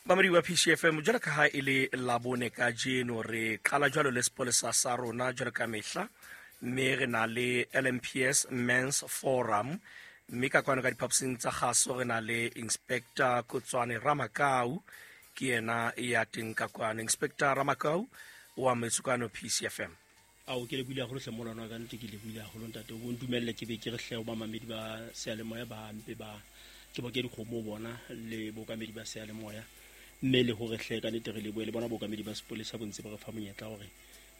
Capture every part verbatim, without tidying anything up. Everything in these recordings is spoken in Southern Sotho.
Mamedi wa P C F M, jwalo ka ha e le Labone kajeno, re qala jwalo le sepolesa sa rona jwalo ka mehla, mme re na le L M P S Men's Forum, mme ka kwano ka diphaposing tsa kgaso re na le Inspector Kotswane Ramakau, ke yena ya teng ka kwano. Inspector Ramakau o amohetswe kwano P C F M. Ao, ke lebohile haholo hle molwana wa ka, nnete ke lebohile haholo ntate. O bo ntumelle ke be ke re hle ho bamamedi ba seyalemoya ba mpe ba ke bo ke dikgomo bona le bookamedi ba seyalemoya, mme le hore hle ka nnete re lebohe le bona bookamedi ba sepolesa bo ntse ba re fa monyetla hore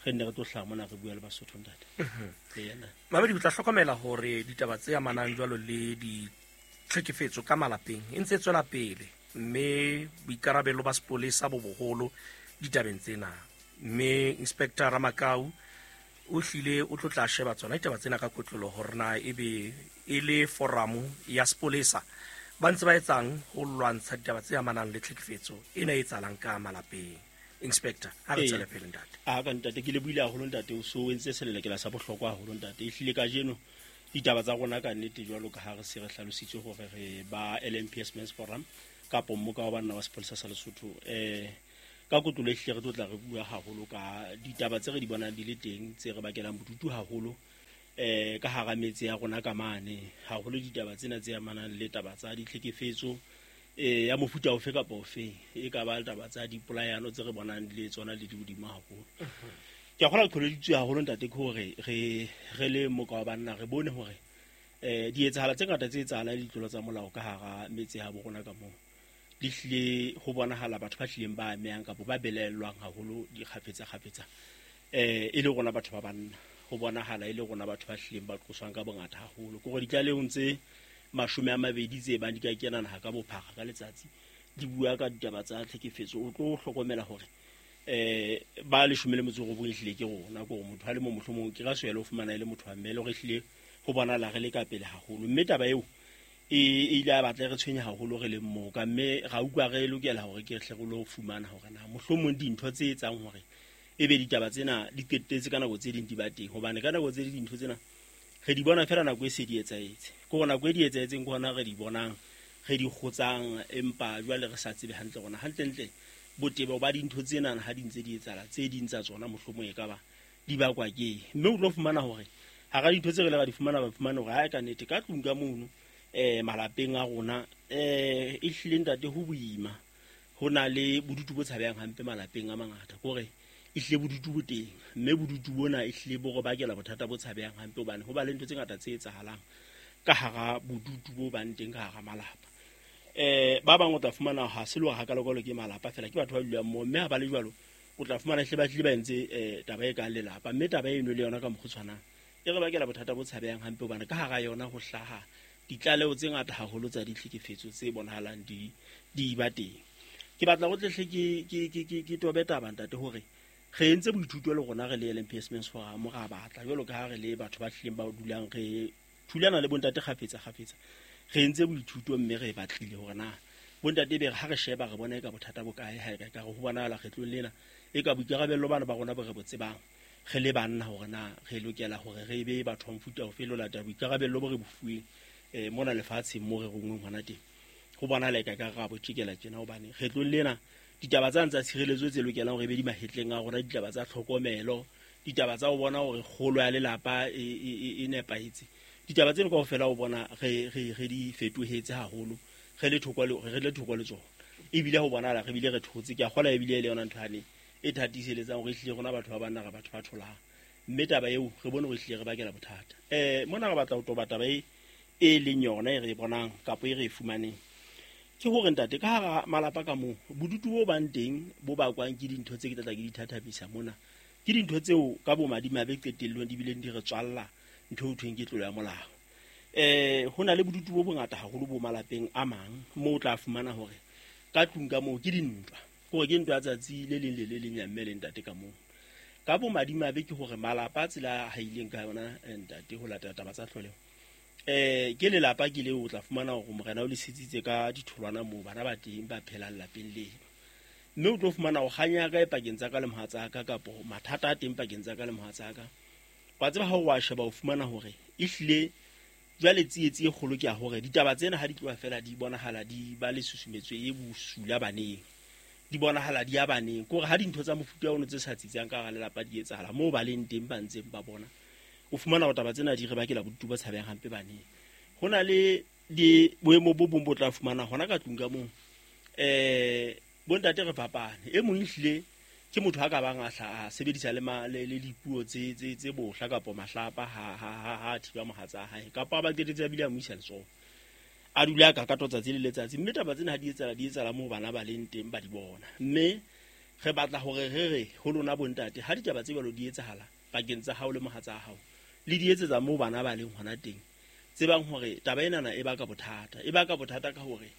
re nne re tlo hlaha mona re bua le Basotho ntate. Mhm. Le yena. Mamedi, o tla hlokomela hore ditaba tse amanang jwalo le ditlhekefetso ka malapeng e ntse e tswela pele, mme boikarabelo ba sepolesa bo boholo ditabeng tsena. Mme Inspector Ramakau o hlile o tlo tla sheba tsona ditaba tsena ka kotloloho hore na ebe e le forum ya sepolesa ba ntse ba etsang ho lwantsha ditaba tse amanang le tlhekefetso ena e etsahalang ka malapeng. Inspector, ha re Ee. tswele pele ntate. A ka ntate, ke lebohile haholo ntate, o so entse selelekela sa bohlokwa haholo ntate. Ehlile kajeno ditaba tsa rona ka nnete jwalo ka ha re se re hlalositse hore re ba L M P S Men's Forum kapo mmoka wa banna wa sepolesa sa Lesotho. Eh, ka kotlolo ehlile re tlo tla re bua haholo ka ditaba tse re di bonang di le teng tse re bakelang bodutu haholo, eh, ka hara metse ya rona ka mane, haholo ditaba tsena tse amanang le taba tsa ditlhekefetso, eh, ya mofuta ofe kapa ofe, e ka ba taba tsa dipolayano tse re bonang di le tsona le di hodimo haholo. Ke a kgolwa qholoditswe haholo ntate ke hore re, re le mmoka wa banna re bone hore, eh, dietsahala tse ngata tse etsahalang le ditlolo tsa molao ka hara metse ya bo rona ka moo di hlile ho bonahala batho ba hlileng ba amehang kapa ba belaellwang haholo dikgafetsa-kgafetsa, eh, e le rona batho ba banna, ho bonahala e le rona batho ba hlileng ba qoswang ka bongata haholo. Ke hore ditlalehong tse mashome a mabedi tse bang di ka kena naha ka bophara ka letsatsi di bua ka ditaba tsa tlhekefetso, o tlo hlokomela hore, eh, ba leshome le metso e robong ehlile ke rona, ke hore motho a le mong mohlomong ke ka swele ho fumana e le motho wa mme, le hore ehlile ho bonahala re le ka pele haholo. Mme taba eo e, e ile ya batla e re tshwenya haholo re leng moka, mme ra utlwa re lokela hore ke hle re lo fumana hore na mohlomong dintho tse etsang hore ebe ditaba tsena di qetetse ka nako tse ding di ba teng, hobane ka nako tse ding dintho tsena re di bona fela nako e se di etsahetse. Ke hore nako e di etsahetseng ke hona re di bonang, re di kgotsang, empa jwale re sa tsebe hantle rona hantlentle botebo ba dintho tsena ha di ntse di etsahala, tse ding tsa tsona mohlomong e ka ba di bakwa ke eng. Mme o tlo fumana hore hara dintho tse re ile ra di fumana, ba fumana hore ha e ka nnete ka tlung ka mono, eh, malapeng a rona, eh, e hlile ntate ho boima, ho na le bodutu bo tshabehang hampe malapeng a mangata. Ke hore e hlile bodutu bo teng, mme bodutu bona e hlile bo re bakela bothata bo tshabehang hampe, hobane ho ba le ntho tse ngata tse etsahalang ka hara bodutu bo bang teng ka hara malapa. Eh, ba bang o tla fumana ha se le hore hakalokalo ke malapa fela, ke batho ba dulang moo, mme ha ba le jwalo o tla fumana hle ba hlile ba entse, eh, taba e kang lelapa, mme taba eno le yona ka mokgwa o tshwanang e re bakela bothata bo tshabehang hampe, hobane ka hara yona ho hlaha ditlaleho tse ngata haholo tsa ditlhekefetso tse bonahalang di, di ba teng. Ke batla ho tlehle ke, ke, ke, ke, ke tobe taba ntate hore re entse boithuto le rona re le L M P S Men's Forum, ra batla jwalo ka ha re le batho ba hlileng ba dulang re thulana le bontate kgafetsa kgafetsa, re entse boithuto mme re batlile hore na bontate be re ha re sheba re bona e ka bothata bo kae, ha e ka re ho bonahala kgetlong lena e ka boikarabello bana ba rona bo re bo tsebang re le banna hore na re lokela hore re be batho ba mofuta ofe le ho latela boikarabello bo re bo fuweng, eh, mona lefatsheng mo re rongweng hona teng. Ho bonahala e ka ka ra bo tjekela tjena, hobane kgetlong lena ditaba tsa tsa tshireletso tse lokelang hore e be di mahetleng a rona, ditaba tsa tlhokomelo, ditaba tsa ho bona hore kgolo ya lelapa e, e, e, e nepahetse, ditaba tseno kaofela o bona re, re, re di fetohetse haholo, re le thoko le, re le thoko le tsona. Ebile ho bonahala re bile re thotse. Ke a kgolwa ebile e le yona ntho yane e thatiseletsang hore ehlile rona batho ba banna re batho ba tholang, mme taba eo re bone hore ehlile re bakela bothata. Eh, mona re batla ho toba taba e, e leng yona e re e bonang kapa e re e fumaneng, ke hore ntate ka hara malapa ka moo bodutu bo bang teng bo bakwang ke dintho tse ke tla tla ke di thathamisa mona, ke dintho tseo ka bomadimabe qetellong di bileng di re tswalla ntho eo thweng ke tlolo ya molao. Eh, ho na le bodutu bo bongata haholo bo malapeng a mang moo o tla fumana hore ka tlung ka moo ke dintwa, ke hore ke ntwa ya tsatsi le leng le le leng ya mme le ntate ka moo. Ka bomadimabe ke hore malapa a tsela a haileng ka yona, eh, ntate ho latela taba tsa tlholeho, eh, ke lelapa ke leo o tla fumana hore morena o le sitsitse ka ditholwana moo bana ba teng ba phelang lapeng leno, mme o tlo fumana ho kganya ka e pakeng tsa ka le mohatsaka kapo mathata a teng pakeng tsa ka le mohatsaka. Wa tseba ha o wa sheba o fumana hore ehlile jwale tsietsi e kgolo ke ya hore ditaba tsena ha di tloha fela di bonahala di ba le susumetso e bosula baneng. di bonahala di ya baneng. Ke hore ha dintho tsa mofuta ono tse sa tsitsang ka hara lelapa di etsahala moo ba leng teng ba ntseng ba bona, o fumana hore taba tsena di re bakela bodutu bo tshabehang hampe baneng. Ho na le di boemo bo bong bo tla fumana hona ka tlung ka moo, eh bontate re fapane. E mong ehlile ke motho a ka bang a hla a sebedisa le le le dipuo tse tse tse bohla kapa mahlapa ha ha ha ha thiba mohatsa hae, kapa ba qetetse a bile a mo isa letsoho, a dula ka ka tsatsi le letsatsi. Mme taba tsena ha di etsahala di etsahala moo bana ba leng teng ba di bona. Mme re batla hore re re ho lona bontate, ha ditaba tse jwalo di etsahala pakeng tsa hao le mohatsa hao, le di etsetsa moo bana ba leng hona teng, tsebang hore taba enana e baka bothata. E baka bothata ka hore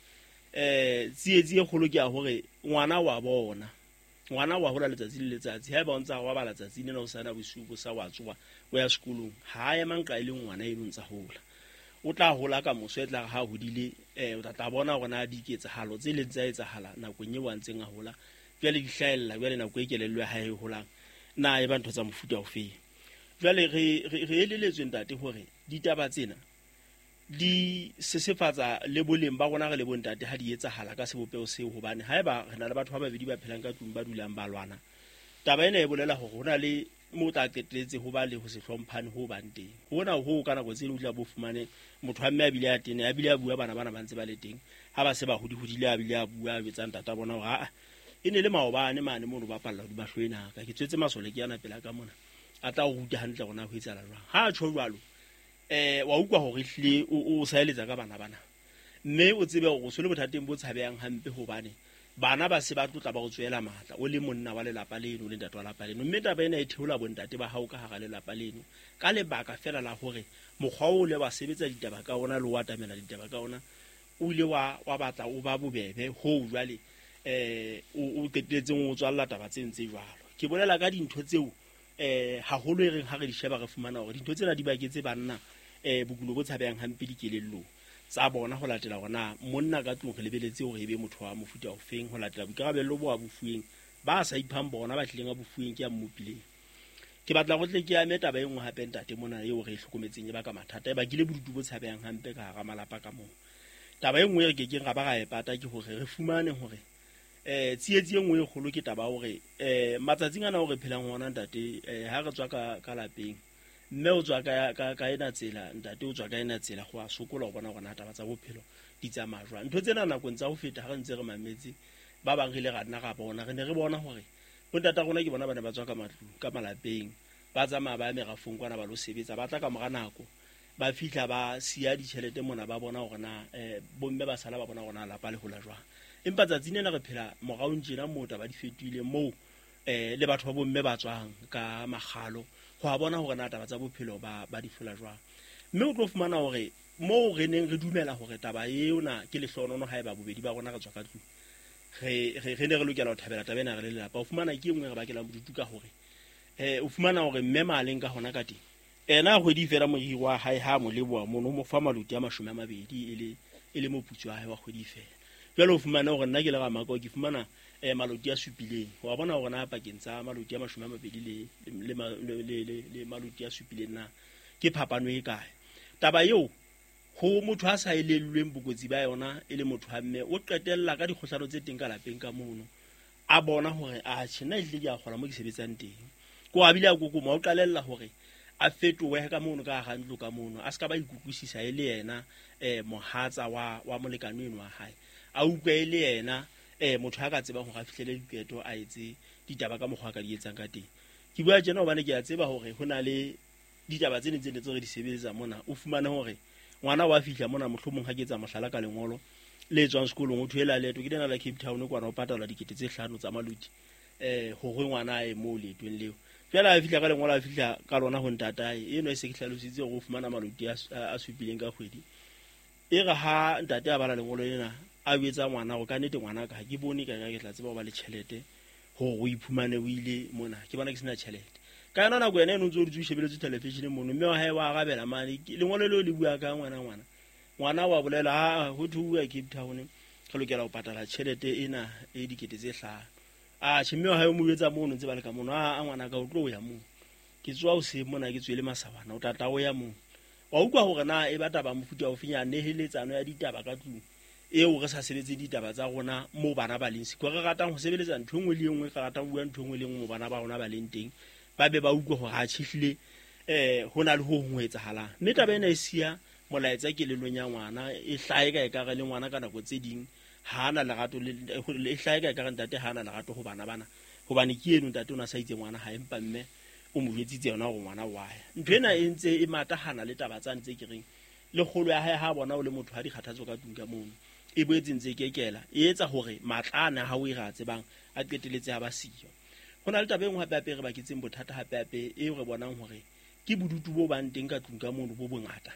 eh tsietsi e kgolo ke ya hore ngwana wa bona, ngwana wa hola letsatsi le letsatsi. Haeba o ntsa wa bala tsatsi lena o sana bosiu bo sa wa tsoha o ya sekolong, ha ema nqa e le ngwana eno ntsa hola, o tla hola ka moso e tla ha hodile, eh o tla tla bona hore na diketsahalo tse leng tsa etsahala nakong eo a ntseng a hola jwale di hlahella jwale nako e kelello ya hae e holang na e ba ntho tsa mofuta ofe. Jwale re re eleletswe ntate hore ditaba tsena di sesefatsa le boleng ba rona re le bontate ha di etsahala ka sebopeho seo, hobane haeba re na le batho ba babedi ba phelang ka tlung ba dulang ba lwana, taba ena e bolela hore ho na le mo tla qetelletse ho ba le ho se hlomphane ho bang teng. Hona ho ka nako tse ding o tla bo fumane motho wa mme a bile a tene, a bile a bua bana bana ba ntse ba le teng, ha ba se ba hodi-hodile a bile a bua a betsang tata bona hore aa e ne le maobane mane mono ba palla hodima hlooho ena ka ke tswetse masole ke yana pela ka mona, a tla o ruta hantle hore na ho etsahala jwang. Ha a tjho jwalo, eh wa utlwa hore ehlile o o saeletsa ka bana bana, mme o tsebe hore o se le bothateng bo tshabehang hampe, hobane bana ba se ba tlotla ba go tswela matla o le monna wa lelapa leno le ntate wa lapa leno. Mme taba ena e theola bontate ba hao ka hara lelapa leno ka lebaka fela la hore mokgwa o le wa sebetsa ditaba ka ona le wa atamela ditaba ka ona o ile wa wa batla o ba bobebe ho jwale eh o o qetelletseng o tswalla taba tse ntse jwalo. Ke bolela ka dintho tseo eh haholo e reng ha re di sheba re fumana hore dintho tsena di baketse banna eh bokulo bo tshabehang hampe dikelellong tsa bona, ho latela hore na monna ka tlung re lebeletse hore e be motho wa mofuta ofeng, ho latela boikarabello bo a bofuweng ba sa iphang bona ba tlileng a bofuweng ke a mmopileng. Ke batla go tle ke ame taba e nngwe hape ntate mona eo re e hlokometseng e baka mathata, e bakile bodutu bo tshabehang hampe ka hara malapa ka moo. Taba e nngwe e re kekeng ra ba ra e pata ke hore re fumane hore eh tsietsi e nngwe e kgolo ke taba hore eh matsatsing ana o re phelang hona ntate, eh ha re tswa ka ka lapeng, mme o tswa ka ka ka ena tsela, ntate o tswa ka ena tsela, go a sokola ho bona hore na taba tsa bophelo di tsamaya jwang. Ntho tsena nakong tsa ho feta ha re ntse re mametse ba bang re ile ra nna ra bona, re ne re bona hore bontata rona ke bona ba ne ba tswa ka matlung ka malapeng, ba tsamaya ba ya merafong kwana ba lo sebetsa, ba tla ka mora nako ba fihla ba siya ditjhelete mona, ba bona hore na eh bomme ba sala ba bona hore na lapa le hola jwang. Empa tsatsing lena re phela moraong tjena moo taba di fetohile moo eh le batho ba bomme ba tswang ka makgalo go a bona hore na taba tsa bophelo ba ba di fola jwang. Mme o tlo fumana hore moo re neng re dumela hore taba ena ke lehlohonono haeba bobedi ba rona re tswa ka tlung, re re re ne re lokela ho thabela taba ena re le lelapa, o fumana ke e nngwe re bakelang bodutu ka hore eh o fumana hore mme maleng ka hona ka teng ena kgwedi fela moriri wa hae ha mo leboha mono mo fa maloti a mashome a mabedi e le e le moputso wa hae wa kgwedi fela. Jwale o fumana hore nna ke le Ramako ke fumana eh maloti a supileng, wa bona hore na pakeng tsa maloti a mashome a mabedi le le le le le maloti a supileng na ke phapano e kae. Taba eo ho motho a sa elellweng bokotsi ba yona e le motho wa mme o qetella ka dikgohlano tse teng ka lapeng ka mono, a bona hore a tjhe nna ehlile ke a kgola mo ke sebetsang teng, ko a bile a kokoma o qalella hore a fetohe ka mono ka hara ntlo ka mono, a ska ba ikutlwisisa e le yena eh mohatsa wa wa molekane eno wa hae, a utlwe e le yena eh motho a ka tsebang hore a fihlele diqeto a etse ditaba ka mokgwa a ka di etsang ka teng. Ke bua tjena hobane ke a tseba hore ho na le ditaba tse ntseng tse re di sebetsa mona, o fumane hore ngwana wa fihla mona mohlomong ha ke etsa mohlala ka lengolo le tswang sekolong, o thoela leeto ke lena la Cape Town kwana o patala dikete tse hlano tsa maloti eh hore ngwana a ye moo leetong leo. Jwale a fihla ka lengolo a fihla ka lona ho ntatae eno e se ke hlalositse hore o fumana maloti a supileng ka kgwedi. E re ha ntate a bala lengolo lena a etsa ngwana go ka nnete ngwana ka ha ke bone ka ke tla tseba ho ba le tjhelete hore o iphumane o ile mona, ke bona ke sena tjhelete. Ka yona nako ena eno ntse o dutse o shebeletse television mono, mme wa hae wa arabela mane lengolo leo le bua ka ngwana ngwana ngwana wa bolela ha ho thuwa Cape Town re lokela ho patala tjhelete ena e dikete tse hlano. A tjhe mme wa hae o mo etsa mono ntse ba le ka mono, a ngwana ka o tlo ya moo ke tswa o se mona ke tswele masawana o tla tla o ya moo. Wa utlwa hore na e ba taba mofuta o fenya neheletsano ya ditaba ka tlung eo re sa sebetse ditaba tsa rona mo bana ba leng siko re ratang ho sebeletsa ntho engwe le engwe re ratang ho bua ntho engwe le engwe mo bana ba rona ba leng teng ba be ba utlwe hore ha tjhihlile eh ho na le ho hong ho etsahalang mme taba ena e siya molaetsa kelellong ya ngwana e hlahe ka ekare le ngwana ka nako tse ding ha ana lerato le e hlahe ka ekare ntate ha ana lerato ho bana bana hobane ke eno ntate o na sa itse ngwana ha empa mme o mo jwetsitse yona hore ngwana wa ya ntho ena e ntse e matahana le taba tsa ntse ke reng le kgolo ya hae ha bona o le motho ha dikgathatso ka tlung ka mono e boetse ntse kekela e etsa hore matla ana ha o e ra tsebang a qeteletse ha ba siyo ho na le taba e nngwe hape hape re baketseng bothata hape hape e re bonang hore ke bodutu bo bang teng ka tlung ka mono bo bongata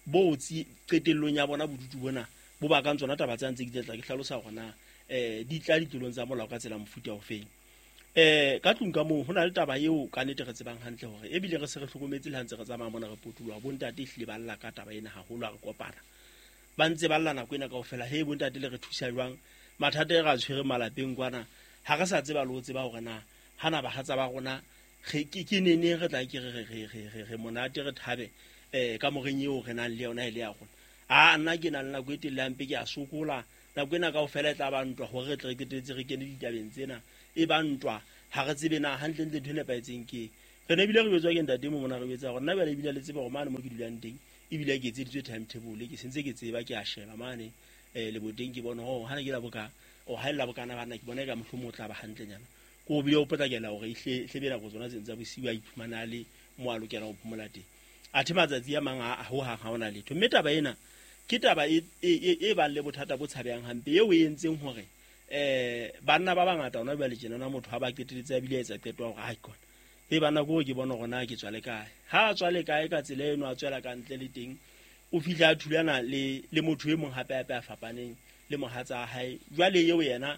bo tsi qetellong ya bona bodutu bona bo bakang tsona taba tsa ntse ke tla ke hlalosa hore na eh di tla ditlolong tsa molao ka tsela mofuta o feng eh ka tlung ka moo ho na le taba eo ka nnete re tsebang hantle hore ebile re se re hlokometse le ha ntse re tsamaya mona re potoloha bontate ehlile ba lla ka taba ena haholo ha re kopana ba ntse ba lla nako ena kaofela he bontate le re thusa jwang mathata e re a tshwere malapeng kwana ha re sa tseba le ho tseba hore na hana bahatsa ba rona re ke ke nene re tla ke re re re re re monate re thabe eh ka moreng eo re nang le yona e le ya rona a nna ke na le nako e telele hampe ke a sokola nako ena kaofela e tla ba ntwa hore re tle re qetelletse re kene ditabeng tsena e ba ntwa ha re tsebe na hantlentle ntho e nepahetseng ke re ne ebile re jwetswa ke ntate mo mona re jwetsa hore nna bjale ebile le tseba hore mane mo ke dulang teng ebile ke etseditswe timetable ke sentse ke tseba ke a sheba mane eh leboteng ke bona hore hana ke la boka o ha ella bokana bana ke bona e ka mohlomong o tla ba hantlenyana ko bile o potlakela hore ihle hle nako tsona tse ntse bosiu a iphumana le mo a lokelang ho phomola teng athe matsatsi a mang a ho hang ha ona letho mme taba ena ke taba e e bang le bothata bo tshabehang hampe eo e entseng hore eh banna ba bangata ona jwale tjena na motho ha ba qeteletse a bile a etsa qeto ya hore ha ikona e bana go ke bona hore na ke tswa le kae ha a tswa le kae ka tsela eno a tswela ka ntle le teng o fihla a thulana le le motho e mong hape hape a fapaneng le mohatsa hae jwale eo yena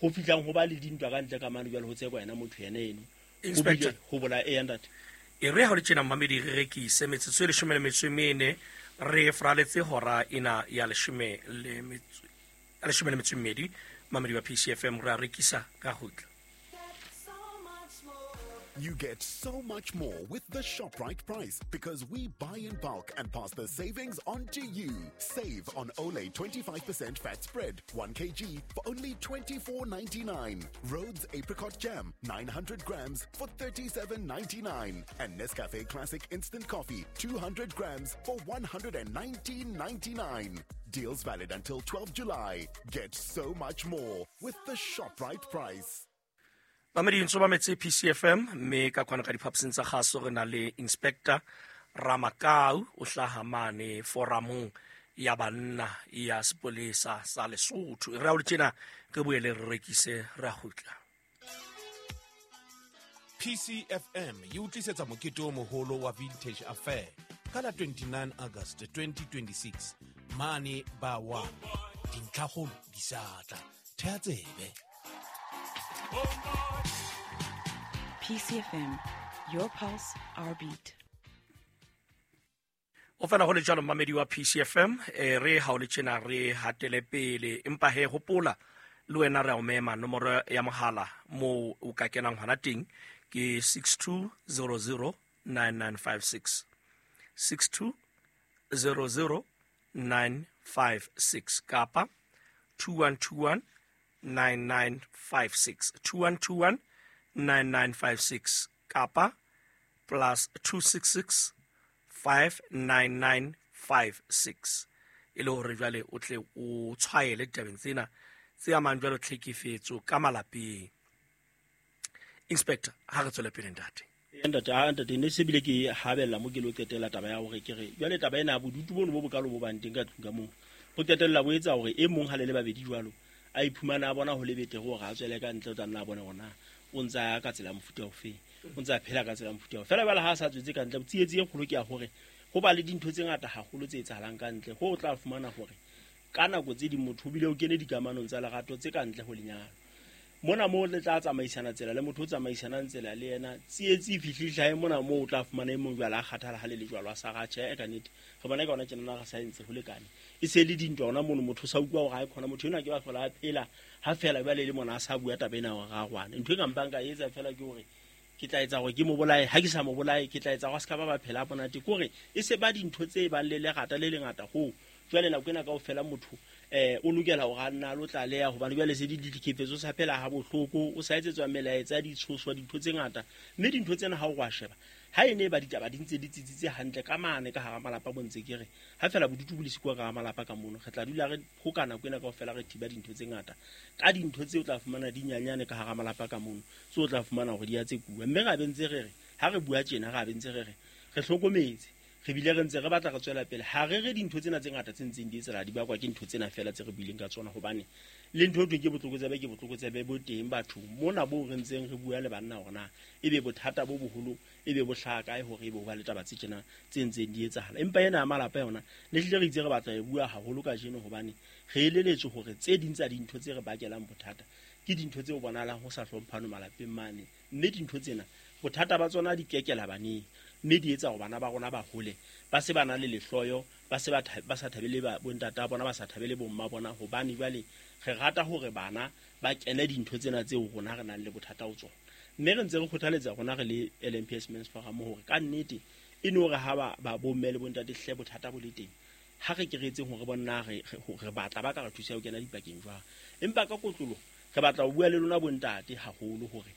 ho fihlang ho ba le dintwa ka ntle ka mane jwale ho tsekwa yena motho yena eno Inspector ho bola e ntate e re ha o le tjena mmamedi re rekise metsotso e leshome le metso e mene re fraletse hora ena ya leshome le metso ya leshome le metso e mmedi mamedi wa P C F M re a rekisa ka kgutla. You get so much more with the ShopRite price because we buy in bulk and pass the savings on to you. Save on Olay twenty-five percent fat spread, one kilogram for only twenty-four ninety-nine. Rhodes Apricot Jam, nine hundred grams for thirty-seven ninety-nine. And Nescafe Classic Instant Coffee, two hundred grams for one hundred nineteen ninety-nine. Deals valid until twelfth of July. Get so much more with the ShopRite price. Mamedi ntso ba metse P C F M mme ka kwana ka diphaposing tsa kgaso re na le Inspector Ramakau o hlaha mane foramong ya banna ya sepolesa sa Lesotho. Re a o le tjena re boele re rekise re a kgutla. P C F M e o tlisetsa mokete o moholo wa Vintage Affair ka la twenty-nine August twenty twenty-six mane ba wa dintlhakgolo di sa tla thea tsebe. P C F M, your pulse, our beat. O fela ho le jwalo mamedi wa P C F M e re ha o le tjena re hatele pele empa he hopola le wena re a o mema nomoro ya mohala mo o ka kenang hona teng ke six two zero zero nine nine five six six two zero zero nine five six kapa two one two one nine nine five six two one two one nine nine five six kapa plus two six six five nine nine five six e le hore jwale o tle o tshwaele ditabeng tsena tse amang jwalo tlhekefetso ka malapeng. Inspector, ha re tswele pele ntate. Ntate, ha ntate ne se bile ke habella mo ke lo qetela taba ya hore ke re jwale taba ena bodutu bono bo bokalo bo bang teng ka tlung ka moo bo qetella bo etsa hore e mong ha le le babedi jwalo a iphumana a bona ho le betere hore a tswele ka ntle o tla nna a bone hore na o ntse a ya ka tsela mofuta ofe o ntse a phela ka tsela mofuta ofe fela jwale ha a sa tswetse ka ntle tsietsi e kgolo ke ya hore ho ba le dintho tse ngata haholo tse etsahalang ka ntle ho o tla fumana hore ka nako tse ding motho o bile o kene dikamanong tsa lerato tse ka ntle ho lenyalo mona moo le tla tsamaisana tsela le motho o tsamaisanang tsela le yena tsietsi e fihle mona moo o tla fumana e mong jwale a kgathala ha le le jwalo a sa ra tjhe ka nnete re bona ka ona tjena re sa entse ho lekane e se le dintwa ona mono motho sa utlwa hore ha e khona motho ena ke ba hlola a phela ha fela jwale le mona a sa bua taba ena hore ra rwana ntho e ka mpang ka etsa fela ke hore ke tla etsa hore ke mo bolaye ha ke sa mo bolaye ke tla etsa hore a ska ba ba phela monate ke hore e se ba dintho tse bang le lerata le lengata ho jwale nako ena kaofela motho eh o lokela hore a nna lo tlaleha hobane jwale se di ditlhekefetso sa phela ha bohloko o sa etsetswa melaetsa ditshoswa dintho tse ngata mme dintho tsena ha o wa sheba ha ene ba ditaba di ntse di tsitsitse hantle ka mane ka hara malapa bontse ke re ha fela bodutu bo le sikuwa ka hara malapa ka mono re tla dula re hokana kwena kaofela re thiba dintho tse ngata ka dintho tseo o tla fumana di nyanyane ka hara malapa ka mono tseo o tla fumana hore di a tse kuwa mme ra bentse re re ha re bua tjena ra bentse re re re hlokometse re bile re ntse re batla re tswela pele ha re re dintho tsena tse ngata tse ntseng di etsela di bakwa ke ntho tsena fela tse re buileng ka tsona hobane le ntho e ke botlokotsebe ke botlokotsebe bo teng batho mona bo re ntseng re bua le banna hore na ebe bothata bo boholo ebe bo hlaha kae hore ebe ho ba le taba tse tjena tse ntseng di etsahala empa ena ya malapa yona ne hlile re itse re batla e bua haholo kajeno hobane re eleletswe hore tse ding tsa dintho tse re bakelang bothata ke dintho tse o bonahalang ho sa hlomphano malapeng mane mme dintho tsena bothata ba tsona di kekela baneng mme di etsa hore bana ba rona ba hole ba se ba na le lehloyo ba se ba ba sa thabele ba bontata bona ba sa thabele bomma bona hobane jwale re rata hore bana ba kene dintho tsena tseo rona re nang le bothata ho tsona mme re ntse re kgothaletsa rona re le L M P S Men's Forum hore ka nnete e no re ha ba ba bomme le bontate hle bothata bo le teng ha re keretseng hore bonna re re batla ba ka re thusa ho kena dipakeng jwang empa ka kotlolo re batla ho bua le lona bontate haholo hore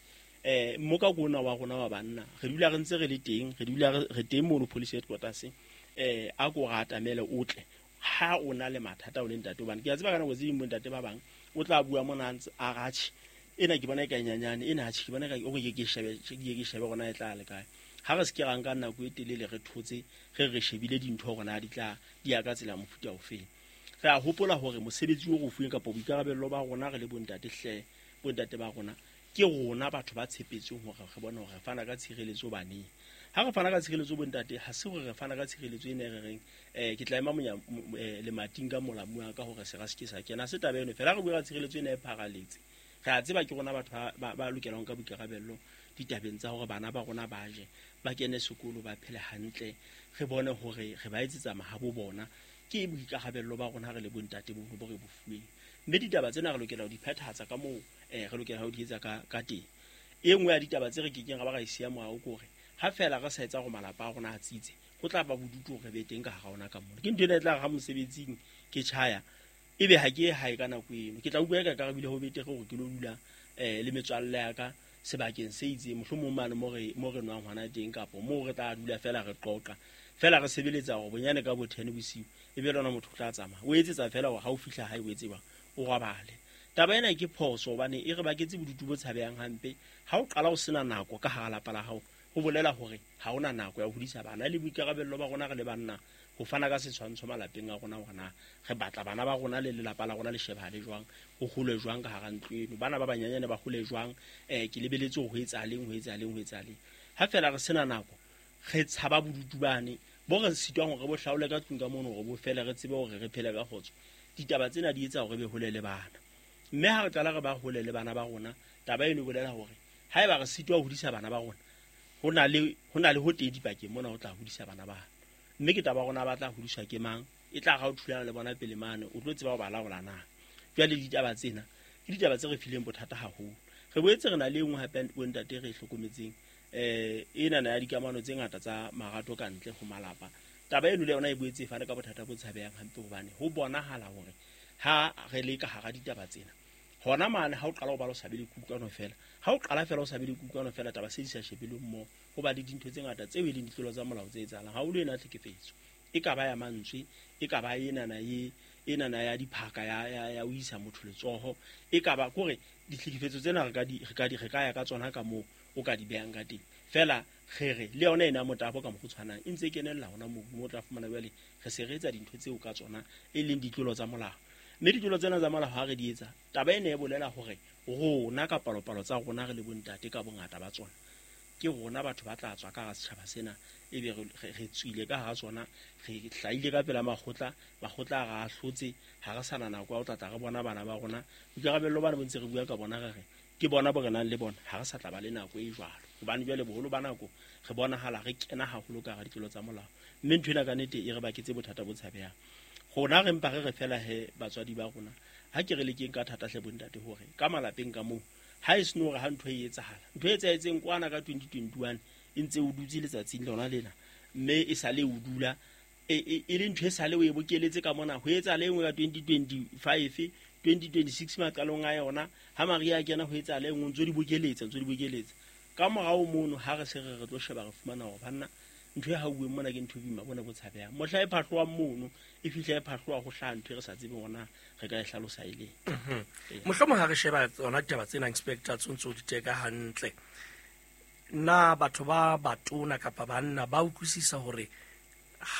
eh mmoka kona wa rona wa banna re dula re ntse re le teng re dula re teng mono police headquarters eh a ko rata mele o tle ha o na le mathata o le ntate hobane ke a tseba ka nako tse ding bontate ba bang o tla bua mona ntse a ratjhe ena ke bona e ka nyanyane ena atjhe ke bona ka o ke ke shebe ke ke shebe rona e tla le kae ha re se ke ra nka nako e telele re thotse re re shebile dintho rona di tla di ya ka tsela mofuta ofe re a hopola hore mosebetsi o re fuweng kapa boikarabello ba rona re le bontate hle bontate ba rona ke rona batho ba tshepetseng hore re bone hore re fana ka tshireletso baneng ha re fana ka tshireletso bontate ha se hore re fana ka tshireletso ene re reng eh ke tla ema monya lemating ka molamu wa ka hore se ra se ke sa kena se taba eno fela re bua ka tshireletso ene e pharaletse re a tseba ke rona batho ba ba lokelang ka boikarabello ditabeng tsa hore bana ba rona ba je ba kene sekolo ba phele hantle re bone hore re ba etsetsa mahabo bona ke boikarabello ba rona re le bontate bo bo re bo fuweng mme ditaba tsena re lokela ho di phethahatsa ka moo eh re lokela ho di etsa ka ka teng e nngwe ya ditaba tse re kekeng ra ba ra e siya morao ke hore ha fela re sa etsa hore malapa a rona a tsitse ho tla ba bodutu hore be teng ka hara ona ka mona ke ntho ena e tla re ha mosebetsing ke tjhaya ebe ha ke ye hae ka nako eno ke tla utlwa eka ka re bile ho betere hore ke lo dula eh le metswalle ya ka sebakeng se itseng mohlomong mane mo re mo re nwang hona teng kapo moo re tla dula fela re qoqa fela re sebeletsa hore bonyane ka bo ten bosiu ebe lona motho o tla tsamaya o etsetsa fela hore ha o fihla hae o etse bang o robale taba ena ke phoso hobane e re baketse bodutu bo tshabehang hampe ha o qala o sena nako ka hara lapa la hao ho bolela hore ha ona nako ya ho hodisa bana le boikarabello ba rona re le banna ho fana ka setshwantsho malapeng a rona hore na re batla bana ba rona le lelapa la rona le shebahale jwang ho hole jwang ka hara ntlo eno bana ba banyanyane ba hole jwang eh ke lebeletse ho etsahaleng ho etsahaleng ho etsahaleng ha fela re sena nako re tshaba bodutu bane bo re sitwang hore bo hlaole ka tlung ka mono hore bo fele re tsebe hore re phele ka kgotso ditaba tsena di etsa hore be hole le bana mme ha re qala re ba hole le bana ba rona taba eno e bolela hore haeba re sitwa ho hodisa bana ba rona ho na le ho na le ho teng dipakeng mona ho tla hodisa bana ba mme ke taba rona ba tla hodiswa ke mang e tla ga o thulana le bona pele mane o tlo tseba ho ba laola na jwale ditaba tsena ke ditaba tse re fileng bothata haholo re boetse re na le engwe hape bontate re hlokometseng eh ena na ya dikamano tse ngata tsa marato ka ntle ho malapa taba eno le yona e boetse e fane ka bothata bo tshabehang hampe hobane ho bonahala hore ha re le ka hara ditaba tsena hona mane ha o qala ho ba lo sa be le kutlwano fela ha o qala fela o sa be le kutlwano fela taba se di sa shebeleng mo ho ba le dintho tse ngata tseo e leng ditlolo tsa molao tse etsahalang haholo ena tlhekefetso e ka ba ya mantswe e ka ba ena na e ena na ya diphaka ya ya ya o isa motho letsoho e ka ba kore ditlhekefetso tsena re ka di re ka di re ka ya ka tsona ka moo o ka di behang ka teng fela re re le yona ena motabo ka mo tshwanang e ntse e kenella hona moo mo tla fumana jwale re se re etsa dintho tseo ka tsona e leng ditlolo tsa molao mme ditlolo tsena tsa molao ha re di etsa taba ena e bolela hore rona ka palopalo tsa rona re le bontate ka bongata ba tsona ke rona batho ba tla tswa ka hara setjhaba sena ebe re tswile ka hara tsona re hlahile ka pela makgotla makgotla a re ahlotse ha re sana nako ya ho tla tla re bona bana ba rona boikarabello bana bo ntse re bua ka bona re re ke bona bo re nang le bona ha re sa tla ba le nako e jwalo hobane jwale boholo ba nako re bonahala re kena haholo ka hara ditlolo tsa molao mme ntho ena ka nnete e re baketse bothata bo tshabehang rona re mpa re re fela he batswadi ba rona ha ke re lekeng ka thata hle bontate hore ka malapeng ka moo ha e seno hore ha ntho e etsahala ntho e etsahetseng kwana ka twenty twenty-one e ntse o dutse letsatsing lona lena mme e sale o dula e e le ntho e sale o e bokeletse ka mona ho etsa le nngwe ka twenty twenty-five twenty twenty-six maqalong a yona ha Maria kena ho etsa le nngwe ntso di bokeletsa ntso di bokeletsa ka morao mono ha re se re re tlo sheba re fumana hore banna ntho e hauweng mona ke ntho boima bona bo tshabehang mohla e phahlwa mono e fihla e phahlwa ho hlaha ntho e re sa tsebeng hona re ka e hlalosa e leng. Mohlomong ha re sheba tsona ditaba tsena inspector tsontso di teka hantle na batho ba batona kapa banna ba utlwisisa hore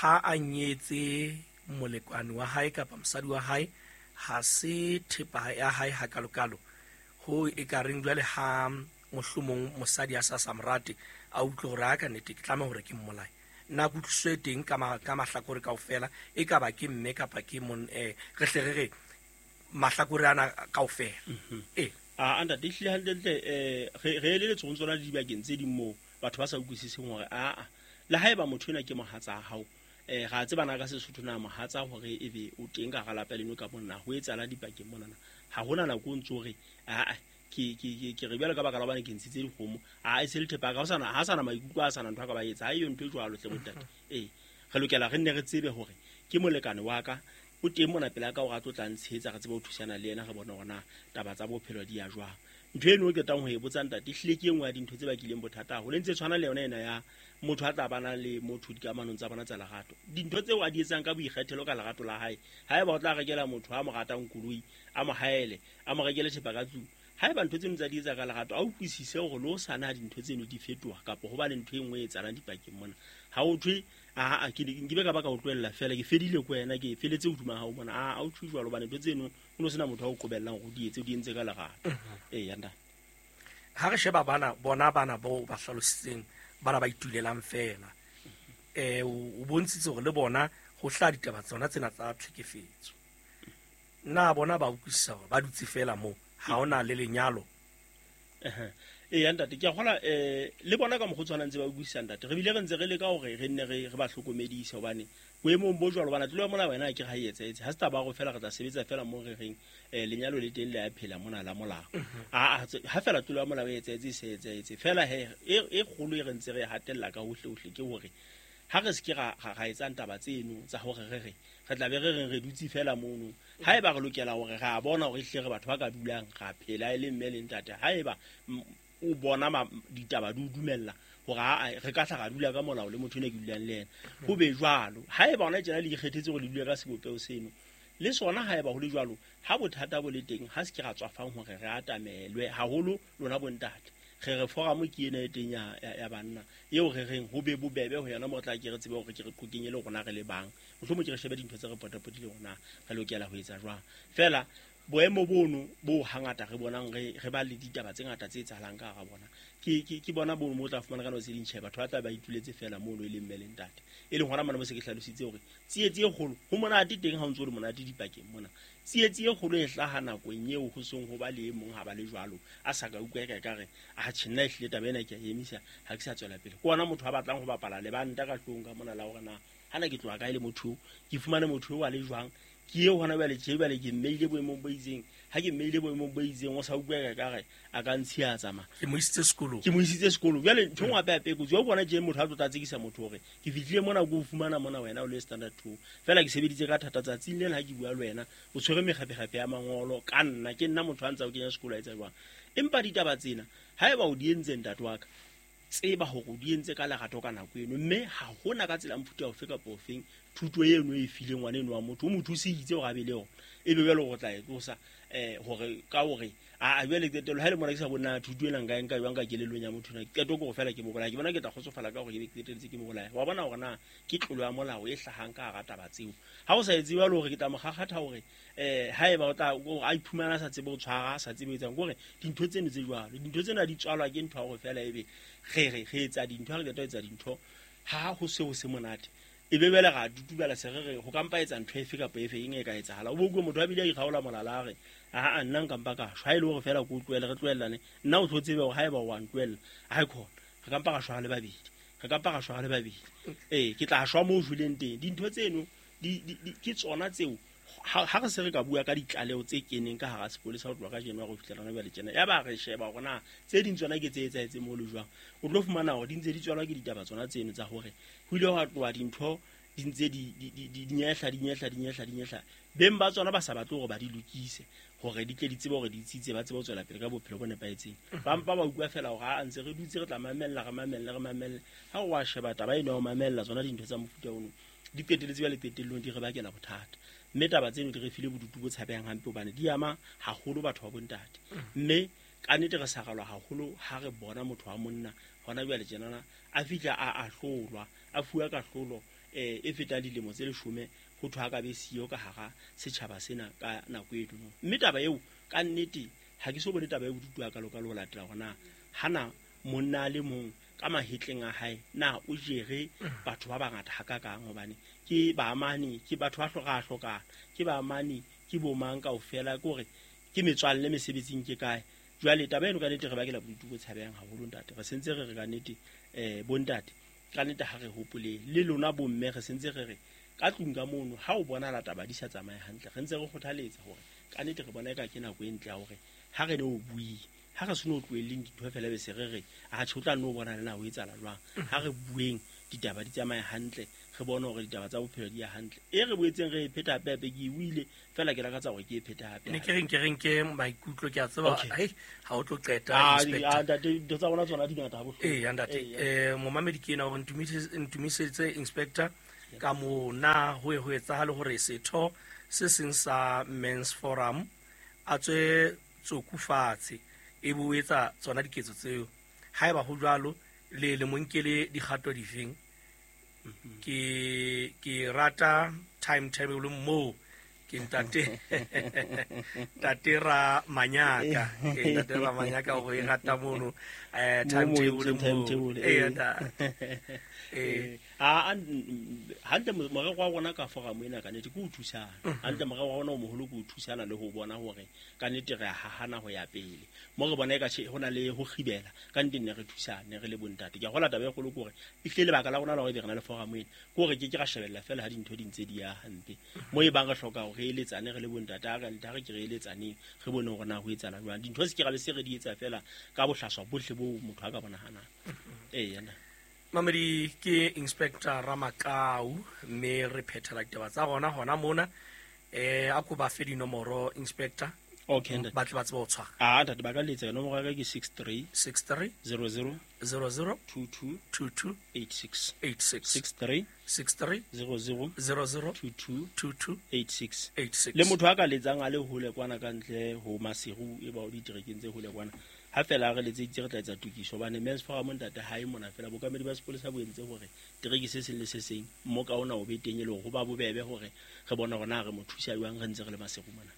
ha a nyetse molekwane wa hae kapa mosadi wa hae ha se thepa ya hae ha kalokalo ho e ka reng jwale ha mohlomong mosadi a sa samrate a utlwe hore a ka nnete ke tlameha hore ke mmolaye nna kutlwiso e teng ka ka mahlakore kaofela e ka ba ke mme kapa ke mon eh re hle re re mahlakore ana kaofela. Eh a anda di hle hantle eh re re eletse go tsona dibakeng tse ding moo batho ba sa utlwisiseng hore a a le haeba motho ena ke mohatsa hao eh ga tsebana ka Sesotho na mohatsa hore ebe o teng ka galapa leno ka monna ho etsala dipakeng monana ha hona nako o ntso re a ke ke ke re bjalo ka baka la bana ke ntshitse dikgomo a e se le thepa ka ho sana ha sana maikutlo a sana ntho ka ba etsa ha e ntho e jwalo tle bontate. Eh re lokela re nne re tsebe hore ke molekane wa ka o teng mona pela ka hore a tlo tla ntshetsa re tsebe ho thusana le yena re bone hore na taba tsa bophelo di ya jwang. Ntho eno ke tang ho e botsa ntate hlile ke engwe ya dintho tse bakileng bothata haholo ntse tshwana le yona ena ya motho a tla bana le motho dikamanong tsa bona tsa lerato dintho tseo a di etsang ka boikgethelo ka lerato la hae haeba o tla rekela motho a mo ratang koloi a mo haele a mo rekele thepa ka tlung haeba ntho tseno tsa di etsa ka lerato a utlwisise hore le o sana dintho tseno di fetoha kapa ho ba le ntho e nngwe e etsahalang dipakeng mona ha o thwe a a ke nke be ka ba ka o tlohella fela ke fedile ko wena ke feletse hodima hao mona a a o thwe jwalo hobane ntho tseno o no sena motho a o qobellang hore o di etse o di entse ka lerato. Ee ntate ha re sheba bana bona bana bao ba hlalositseng bana ba itulelang fela eh o bontshitse hore le bona ho hla ditaba tsona tsena tsa tlhekefetso na bona ba utlwisisa hore ba dutse fela moo ha ona le lenyalo. Ee ntate ke a kgola eh le bona ka mokgwa tshwanang ntse ba utlwisisa ntate re bile re ntse re leka hore re nne re re ba hlokomedise hobane boemong bo jwalo bana tlolo mona wena ke ha e etsahetse ha se taba go fela re tla sebetsa fela mo re reng eh lenyalo le teng le a phela mona la molao a ha fela tlolo ya molao e etsahetse se etsahetse fela he e kgolo e re ntse re hatella ka hohle hohle ke hore ha re se ke ra ra etsang taba tseno tsa hore re re re tla be re reng re dutse fela mono haeba re lokela hore ra bona hore hle re batho ba ka dulang ra phela e le mme le ntate haeba o bona ditaba di o dumella hore a re ka tla ra dula ka molao le motho ene ke dulang le yena ho be jwalo haeba hona tjena le ikgethetse hore le dule ka sebopeho seno le sona haeba ho le jwalo ha bothata bo le teng ha se ke ra tswafang hore re atamelwe haholo lona bontate re re forum ke ena e teng ya ya banna eo re reng ho be bobebe ho yona mo tla ke re tsebe hore ke re qokenye le rona re le bang mohlomong ke re shebe dintho tse re potapotileng rona re lokela ho etsa jwang fela boemo bono bo hangata re bonang re re ba le ditaba tse ngata tse etsahalang ka hara bona ke ke ke bona bono mo tla fumana ka nako tse ding tjhe batho ba tla ba ituletse fela mono e leng mme le ntate e leng hona mona mo se ke hlalositse hore tsietsi e kgolo ho monate teng ha o ntso le monate dipakeng mona tsietsi e kgolo e hlaha nakong eo ho seng ho ba le e mong ha ba le jwalo a sa ka utlwa ka ka re a tjhe nna ehlile taba ena ke a emisa ha ke sa tswela pele ke ona motho a batlang ho bapala lebanta ka hlong ka mona la hore na hana ke tloha kae le motho ke fumane motho eo a le jwang ke eo hona jwale tje jwale ke mmeile boemong bo itseng ha ke mmeile boemong bo itseng o sa utlwa ka ka re a ka ntshiya tsamaya ke mo isitse sekolong ke mo isitse sekolong jwale ntho engwe hape hape kotsi wa bona tje motho a tlo tla tsekisa motho hore ke fihlile mona ko o fumana mona wena o le standard two fela ke sebeditse ka thata tsatsing lena ha ke bua le wena o tshwere mekgaphekgaphe ya mangolo ka nna ke nna motho a ntsa o kenya sekolo a etsa jwang empa ditaba tsena haeba o di entse ntate wa ka tseba hore o di entse ka lerato ka nako eno mme ha hona ka tsela mofuta ofe kapa ofeng thuto eno e fileng ngwana eno wa motho o mo thusitse hore a be le yona ebe jwale hore o tla e tlosa um hore ka hore a jwale qetello ha e le mona ke sa bona thuto ena nka e nka jwang ka kelellong ya motho na qeto ke hore fela ke mo bolaya ke bona ke tla kgotsofala ka hore ke be qetelletse ke mo bolaya wa bona hore na ke tlolo ya molao e hlahang ka hara taba tseo ha o sa etse jwalo hore ke tla mo kgakgatha hore um haeba o tla a iphumana a sa tsebe ho tshwara a sa tsebe ho etsang ke hore dintho tseno tse jwalo dintho tsena di tswalwa ke ntho ya hore fela ebe re re re etsa dintho ha re qeta ho etsa dintho ha ho se ho se monate e be bele ra tutubela se re re ho kampa etsa ntho efe kapa efe eng e ka etsahala o bo utlwe motho a bile a ikgaola molala a re aa nna nka mpa ka shwa ha e le hore fela ko tlohele re tlohellane nna o tlo tsebe hore haeba o a ntlohella ha e khona re kampa ra shwa le babedi re kampa ra shwa le babedi ee ke tla shwa moo o shweleng teng dintho tseno di ke tsona tseo ha re se re ka bua ka ditlaleho tse keneng ka hara sepolesa ho tloha ka January ho fihlela hona jwale tjena ya ba re sheba hore na tse ding tsona ke tse etsahetseng moo le jwang o tlo fumana hore di ntse di tswalwa ke ditaba tsona tseno tsa hore ho ile hwa tloha dintho di ntse di di di nyehla di nyehla di nyehla di nyehla beng ba tsona ba sa batle hore ba di lokise hore di tle di tsebe hore di tsitse ba tsebe ho tswela pele ka bophelo bo nepahetseng. Ba mpa ba utlwa fela hore a ntse re dutse re tla mamella re mamelle re mamelle ha o wa sheba taba eno ya ho mamella tsona dintho tsa mofuta ono di qeteletse jwale qetellong di re bakela bothata. Mme taba tseno di re file bodutu bo tshabehang hampe hobane di ama haholo batho ba bontate. Mme ka nnete re sagalwa haholo ha re bona motho wa monna hona jwale tjenana a fihla a ahlolwa a fuwa kahlolo eh e feta dilemo tse leshome ho thwa ka be siyo ka hara setjhaba sena ka nako e dimo. Mme taba eo ka nnete ha ke so bone taba e bodutu a kalo kalo ho latela hona hana monna le mong ka mahetleng a hae na o jere batho ba bangata hakakang hobane ke ba amane ke batho ba hloka hlokana ke ba amane ke bomang kaofela ke hore ke metswalle mesebetsing ke kae. Jwale taba eno ka nnete re bakela bodutu bo tshabehang haholo ntate. Re sentse re re ka nnete eh bontate ka nnete ha re hopole le lona bomme re sentse re re ka tlung ka mono ha o bona la taba di sa tsamaye hantle re ntse re kgothaletsa hore ka nnete re bona eka ke nako e ntle ya hore ha re ne o bue ha re seno tlohelleng dintho fela be se re re a tjho tla no bona le na ho etsahala jwang. Ha re bueng ditaba di tsamaye hantle re bone hore ditaba tsa bophelo di ya hantle e re boetseng re e pheta hape hape ke e buile fela ke lakatsa hore ke e pheta hape. Ne ke reng ke reng ke maikutlo ke a tseba hei ha o tlo qeta inspector. Ah ntate dintho tsa rona tsona di ngata ha bohloko. Ee ntate eh momamedi ke ena hore ntumisetse inspector ka mo na ho e ho etsahale hore setho se seng sa Men's Forum a tswe tsoku fatshe e bo etsa tsona diketso tseo haeba ho jwalo le le monkele dikgato difeng. Ke ke rata timetable mo ke ntate ntate ra manyaka ke ntate ra manyaka o e rata mono eh timetable mo eh eh a hantle morero wa rona ka forum ena ka nnete ke o thusana hantle morero wa rona o moholo ke o thusana le ho bona hore ka nnete re hahana ho ya pele mo re bona e ka hona le ho kgibela ka nnete ne re thusane re le bontate. Ke a hola taba e kgolo ke hore ehlile lebaka la rona la hore be re na le forum ena ke hore ke ke ra shebella fela ha dintho di ntse di ya hampe mo e bang re hloka hore re eletsane re le bontate a re ntate re ke re eletsaneng re bone hore na ho etsahala jwang dintho se ke ra be se re di etsa fela ka bohlaswa bohle bo motho a ka bonahanang. Ee yena Mamedi ke Inspector Ramakau mme re phethela ditaba tsa rona hona mona eh a ko ba fe dinomoro Inspector. Okay ntate ba tle ba tsebe ho tshwara. Ah ntate ba ka letsa nomoro ya ka ke six three six three zero zero zero zero two two two two eight six eight six six three six three zero zero zero zero two two two two eight six eight six. Le motho a ka letsang a le hole kwana ka ntle ho Maseru e ba o diterekeng tse hole kwana ha fela re letseditse re tla etsa tokiso hobane Men's Forum ntate ha e mona fela bokamedi ba sepolesa bo entse hore tereke se seng le se seng mo ka ona o be teng e le hore ho ba bobebe hore re bone hore na re mo thusa jwang re ntse re le Maseru mona.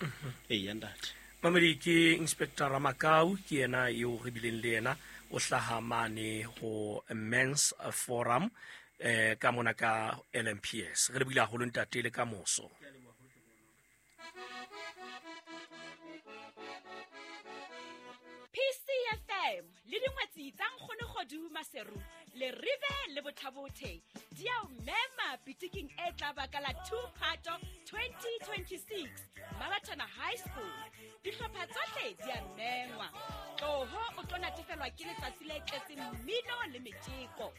Ee ya ntate. Mamedi ke Inspector Ramakau ke yena eo re bileng le yena o hlaha mane ho Men's Forum eh ka mona ka L M P S. Re lebile haholo ntate le ka moso. P C F M le dingwetsi tsa nkgono kgodu Maseru le rive le Bothabothe di a o mema pitiking e tla baka la two Phato twenty twenty-six Mabatana High School. Dihlopha tsohle di a mengwa. Tloho o tlo natefelwa ke letsatsi le tletseng mmino le metjeko.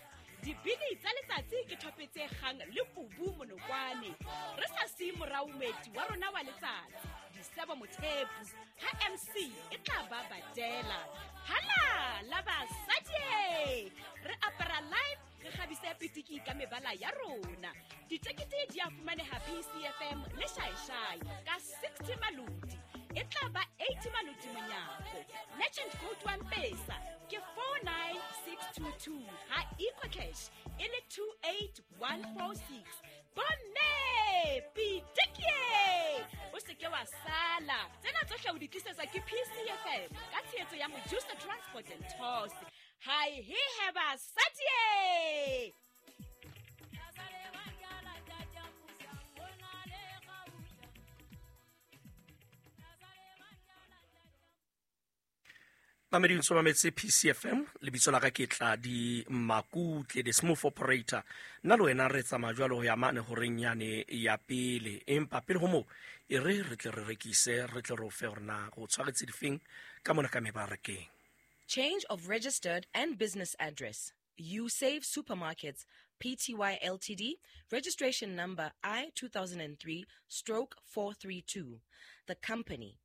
Dibini tsa letsatsi ke thope tse kgang le kubu monokwane. Re sa siye morao moeti wa rona wa letsatsi Disebo Mothepu ha M C e tla ba badela. Hala la basadi re apara live re kgabise pitiki ka mebala ya rona. Ditekete di a fumaneha P C F M le Shaishai ka sixty maloti. E tla ba eighty maloti monyako. Merchant code wa M-Pesa ke four nine six two two ha EcoCash e le two eight one four six. Bomme pitiki o se ke wa sala. Tsena tsohle o di tlisetswa ke P C F M ka tshehetso ya Mojusa Transport and Tours. Hi he heba satie. Mamedi o mametse P C F M lebitso la ka ke Tladi Makutle the smooth operator. Nna le wena re tsamaya jwalo ho ya mane horeng yane ya pele empa pele ho moo e re re tle re rekise re tle re o fe hore na go tshwaretse difeng ka mona ka mebarakeng. Change of registered and business address. You Save Supermarkets P T Y L T D, registration number I two thousand three stroke four three two. The company.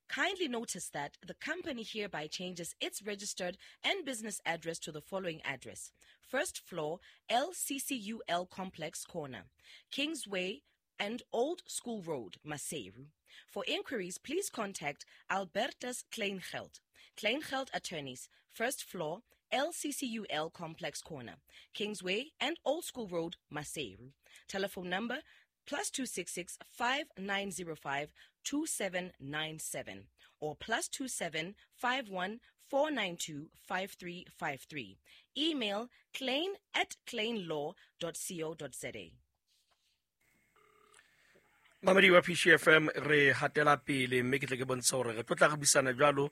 Kindly notice that the company hereby changes its registered and business address to the following address. First floor, L C C U L Complex Corner, Kingsway and Old School Road, Maseru. For inquiries, please contact Albertus Kleingeld. Kleingeld Attorneys, first floor, L C C U L Complex Corner, Kingsway and Old School Road, Maseru. Telephone number plus two six six five nine zero five two seven nine seven or plus two seven five one four nine two five three five three. Email klein at kleinlaw dot co dot za. Mamedi wa P C F M re hatela pele mme ke tle ke bontsha hore re tlo tla re buisana jwalo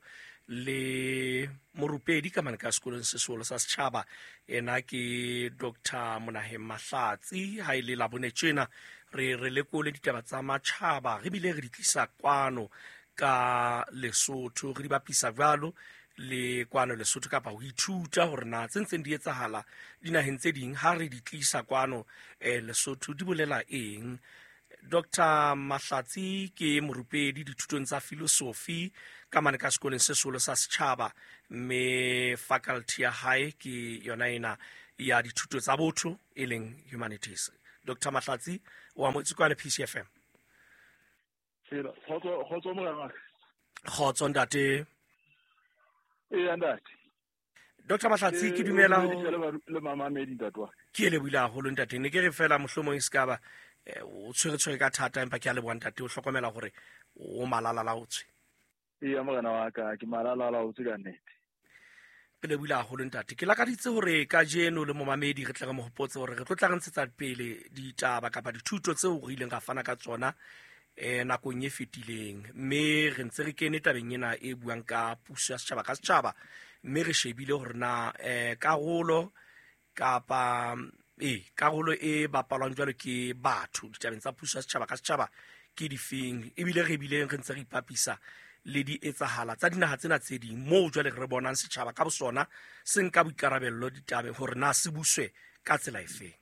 le morupedi ka mane ka sekolong se seholo sa setjhaba. Ena ke Doctor Monaheng Mahlatsi. Ha ile la bone tjena re re lekole ditaba tsa matjhaba, re bile re di tlisa kwano ka Lesotho, re di bapisa jwalo le kwano Lesotho kapa ho ithuta hore na tse ntseng di etsahala dinaheng tse ding ha re di tlisa kwano eh Lesotho di bolela eng. Doctor Mahlatsi ke morupedi dithutong tsa philosophy ka mane ka sekolong se seholo sa setjhaba, mme faculty ya hae ke yona ena ya dithuto tsa botho e leng humanities. Doctor Mahlatsi o amohetswe kwana P C F M. Kgotso kgotso morena. Kgotso ntate. Ee ntate. Doctor Mahlatsi ke dumela ho le mamamedi ntate wa. Ke le buile haholo ntate, ne ke re fela mohlomong e se ka ba o tshwere tshwere ka thata, empa ke a leboha ntate o hlokomela hore o malala la o tswe. Ee morena wa ka, ke malala la o tswe ka nnete. Ke lebohile haholo ntate. Ke lakaditse hore kajeno le momamedi re tle re mo hopotse hore re tlo tla re ntshetsa pele ditaba kapa dithuto tseo re ileng ra fana ka tsona eh nakong e fetileng, mme re ntse re kene tabeng ena e buang ka puso ya setjhaba ka setjhaba, mme re shebile hore na eh karolo kapa e karolo e bapalwang jwalo ke batho ditabeng tsa puso ya setjhaba ka setjhaba ke difeng, ebile re bileng re ntse re ipapisa le di etsahala tsa dinaha tsena tse ding moo jwale re bonang setjhaba ka bosona se nka boikarabello ditabeng hore na se buswe ka tsela efeng.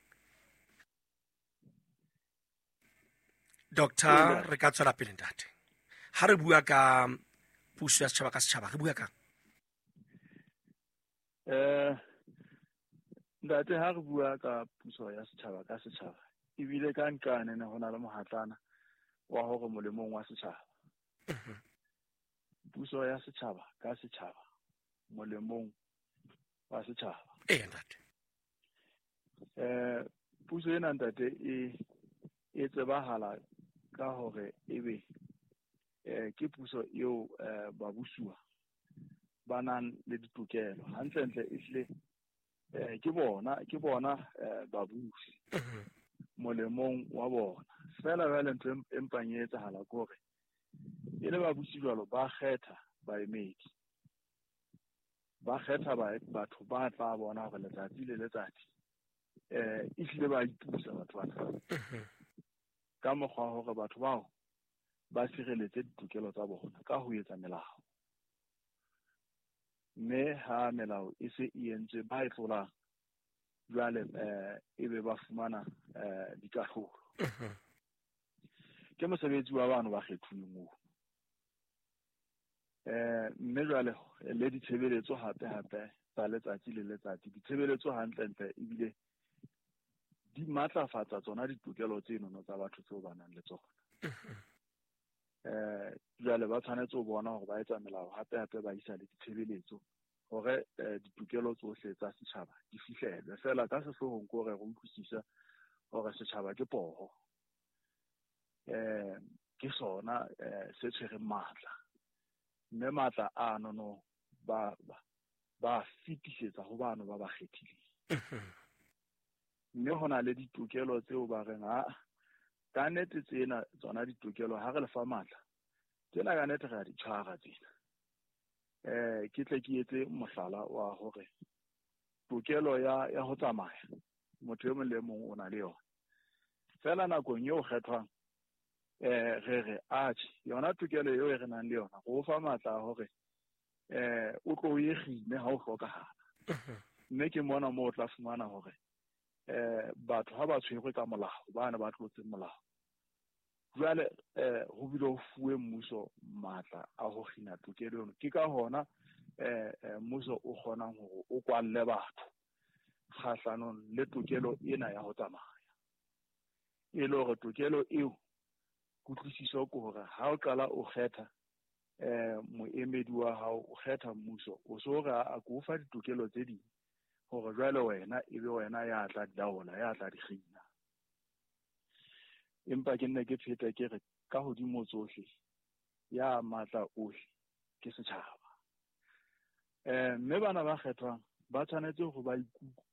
Doctor, re ka tswela pele ntate. Ha re bua ka puso ya setjhaba ka setjhaba re bua ka eh ntate, ha re bua ka puso ya setjhaba ka setjhaba ebile ka nkane ne hona le mohatlana wa hore molemong wa setjhaba. Puso ya setjhaba ka setjhaba molemong wa setjhaba. Ee ntate. Eh puso ena ntate e e tsebahala ka hore ebe eh ke puso eo babusuwa ba nang le ditokelo hantlentle ehlile eh ke bona ke bona babusi molemong wa bona. Fela jwale ntho e mpang e etsahala ke hore e le babusi jwalo ba kgetha baemedi, ba kgetha batho ba tla bona hore letsatsi le letsatsi eh ehlile ba ipusa batho bana ka mokgwa hore batho bao ba sireletse ditokelo tsa bona ka ho etsa melao. Mme ha melao e se e entswe ba e tlolang jwale eh ebe ba fumana eh dikahlolo. Ke mosebetsi wa bano ba kgethuweng oo. Eh mme jwale le ditshebeletso hape hape tsa letsatsi le letsatsi, ditshebeletso hantlentle ebile di matlafatsa tsona ditokelo tseno tsa batho tseo ba nang le tsona. Eh jwale ba tshwanetse ho bona hore ba etsa melao hape hape ba isa le ditshebeletso hore ditokelo tsohle tsa setjhaba di fihlelwe. Fela ka sehloohong ke hore re utlwisisa hore setjhaba ke poho, eh ke sona se tshwereng matla, mme matla ano no ba ba fetisetsa ho bano ba ba kgethileng. Mme hona le ditokelo tseo ba reng ha ka nnete tsena tsona ditokelo ha re le fa matla tsena ka nnete re a di tshwara tsena. Eh ke tle ke etse mohlala wa hore tokelo ya ya ho tsamaya motho e mong le mong o na le yona. Fela nakong eo kgethwang eh re re atjhe yona tokelo eo e re nang le yona go fa matla hore eh o tlo e kgine ha o hlokahala. Mme ke mona moo o tla fumana hore eh batho ha ba tshwerwe ka molao, ba ne ba tlotse molao. Jwale eh ho bile ho fuwe mmuso matla a ho kgina tokelo eno. Ke ka hona eh mmuso o kgonang hore o kwalle batho kgahlanong le tokelo ena ya ho tsamaya. E le hore tokelo eo kutlwisiso ke hore ha o qala o kgetha eh moemedi wa hao, o kgetha mmuso, o so re a ko fa ditokelo tse ding hore jwale wena e be wena ya tla di laola, ya tla di kgina. Empa ke nne ke pheta ke re ka hodimo tsohle ya matla ohle ke setjhaba. Eh mme bana ba kgethwang ba tshwanetse hore ba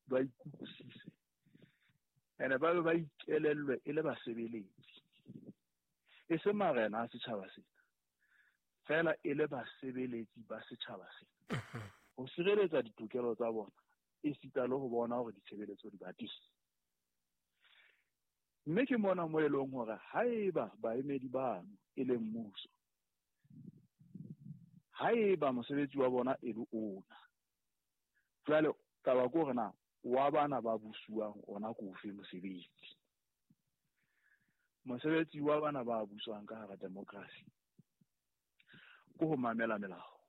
ba ikutlwisise ene ba be ba ikelellwe e le basebeletsi, e se marena a setjhaba sena fela, e le basebeletsi ba setjhaba sena, ho sireletsa ditokelo tsa bona esita le ho bona hore ditshebeletso di ba teng. Mme ke mona mo e leng hore haeba baemedi bano e leng mmuso, haeba mosebetsi wa bona e le ona, jwale taba ke hore na wa bana ba busuwang ona ke ofe mosebetsi. Mosebetsi wa bana ba buswang ka hara democracy ke ho mamela melao,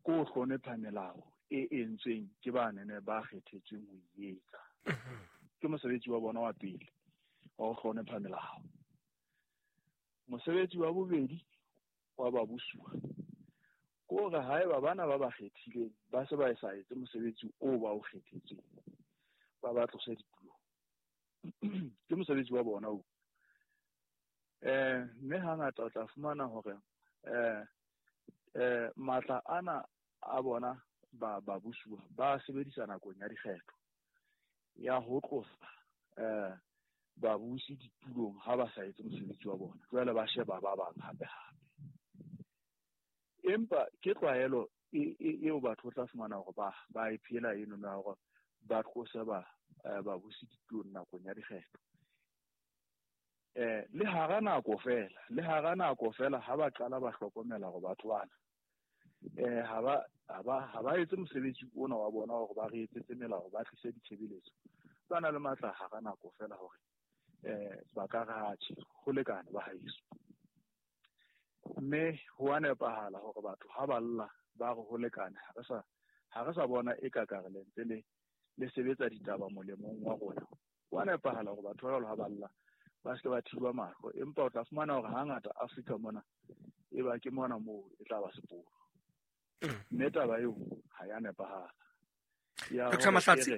ke ho hlonepha melao e entsweng ke ba nene ba kgethetsweng ho e etsa. Ke mosebetsi wa bona wa pele wa ho hlonepha melao. Mosebetsi wa bobedi wa babusuwa ke hore haeba bana ba ba kgethileng ba se ba sa etse mosebetsi oo ba o kgethetsweng, ba ba tlose ditulong. Ke mosebetsi wa bona oo. Eh mme hangata o tla fumana hore eh eh matla ana a bona ba babusuwa ba sebedisa nakong ya dikgetho ya ho tlosa eh babusi ditulong ha ba sa etse mosebetsi wa bona, jwale ba sheba ba bang hape hape. Empa ke tlwaelo eo batho tla fumana hore ba ba e phela eno na hore ba tlose ba babusi ditulong nakong ya dikgetho. Eh le hara nako fela, le hara nako fela ha ba qala ba hlokomela hore batho bana eh ha ba ha ba ha ba etse mosebetsi ona wa bona hore ba re etsetse melao, ba tlise ditshebeletso, ba na le matla hara nako fela hore eh ba ka re atjhe ho lekane ba haeso. Mme ho a nepahala hore batho ha ba lla ba re ho lekane, ha re sa ha re sa bona e ka ka re le ntse le le sebetsa ditaba molemong wa rona. Ho a nepahala hore batho ba ha ba lla ba se ba thiba mahlo, empa o tla fumana hore hangata Afrika mona e ba ke mona moo e tla ba sepolo. Mme taba eo ha ya nepahala. Ya Doctor Mahlatsi,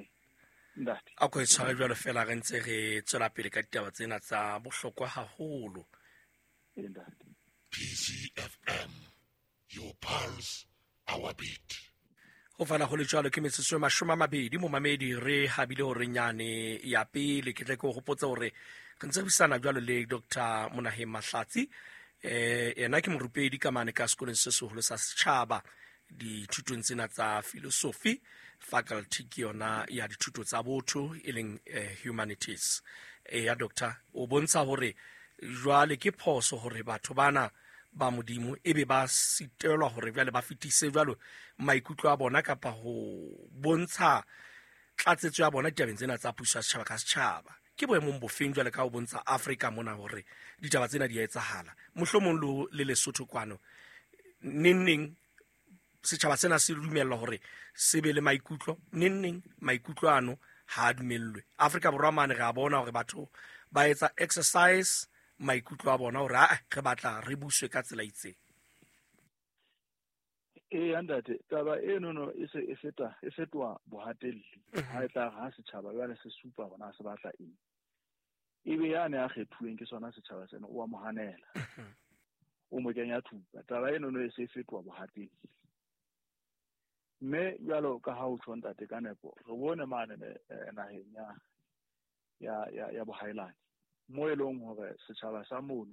ntate a ko e tshware jwalo fela re ntse re tswela pele ka ditaba tsena tsa bohlokwa haholo. Ntate. P C F M, your pulse, our beat. Ho fana ho le jwalo ke metsotso e mashome a mabedi momamedi re habile hore nyane ya pele. Ke tle ke o hopotse hore re ntse re buisana jwalo le Doctor Monaheng Mahlatsi. Eh yena ke morupedi ka mane ka sekolong se seholo sa setjhaba dithutong tsena tsa philosophy, faculty ke yona ya dithuto tsa botho e leng eh, humanities. E ya doctor o bontsha hore jwale ke phoso hore batho bana ba modimo ebe ba sitelwa hore jwale ba fetise jwalo maikutlo a bona kapa ho bontsha tlatsetso ya bona ditabeng tsena tsa puso ya setjhaba ka setjhaba. Ke boemong bofeng jwale ka ho bontsha Afrika mona hore ditaba tsena di a etsahala, mohlomong le Lesotho kwano neng neng setjhaba sena se dumellwa hore se be le maikutlo, neng neng maikutlo ano ha a dumellwe. Afrika Borwa mane re a bona hore batho ba etsa exercise maikutlo a bona hore a re batla re buswe ka tsela itseng. Ee ntate, taba eno no e se e feta e fetoha bohatelli. Ha e tla ha setjhaba jwale se supa hore se batla eng, ebe yane a kgethuweng ke sona setjhaba sena o a mo hanela, o mo kenya thupa. Taba eno no e se fetoha bohatelli. Mme jwalo ka ha o tjho ntate ka nepo, re bone mane naheng ya ya ya ya bohaelane mo e leng hore setjhaba sa mono